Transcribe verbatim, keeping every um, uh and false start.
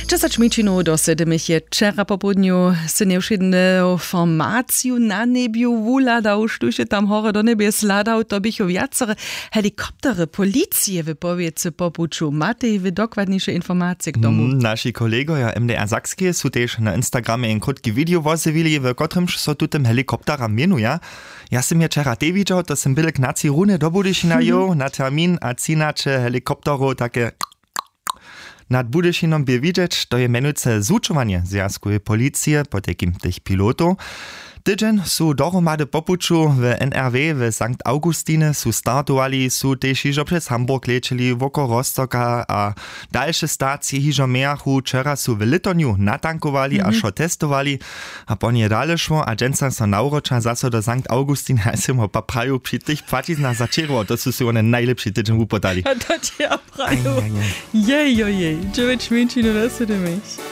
Dźesać mjeńšinow do sedymich je wčera popołdnju sy njewšědnu formaciju na njebju wuhladał, štóž je tam horje do njebjes hladał. To běchu wjacore helikoptery policije w powěcy po puću. Matej wy dokładniše informacije k tomu? Naši kolegojo mdr sakskeje su tež na instagramje jen krótki video wozjewili, w kotrymž so tutym helikopteram měnuja. Ja sym je wčera tej widźał, to sym běle k naci runje do budyšina jěł na termin a třinaće helikopterow take nad budyšinom bě widźeć. To je mjenujce zwučowanje zwjazkoweje policije potajkim tych pilotow. Tydźeń su dohromady po puću w nrw w sankt augustinje su startowali, su tež hižo přez hamburg lećeli woko rostoka a dalše stacije hižo mějachu. Wčera su w lětonju natankowali a wšo testowali a po nje dale šło a dźensa so nawróća zaso do sankt augustin. Haj sym ho pa praju při tych płaćiznach začerował, to su sej wone najlěpši tydźeń wupodali. A to će ja praju. Jejojej, dźewjeć mjeńšinow do sedymich.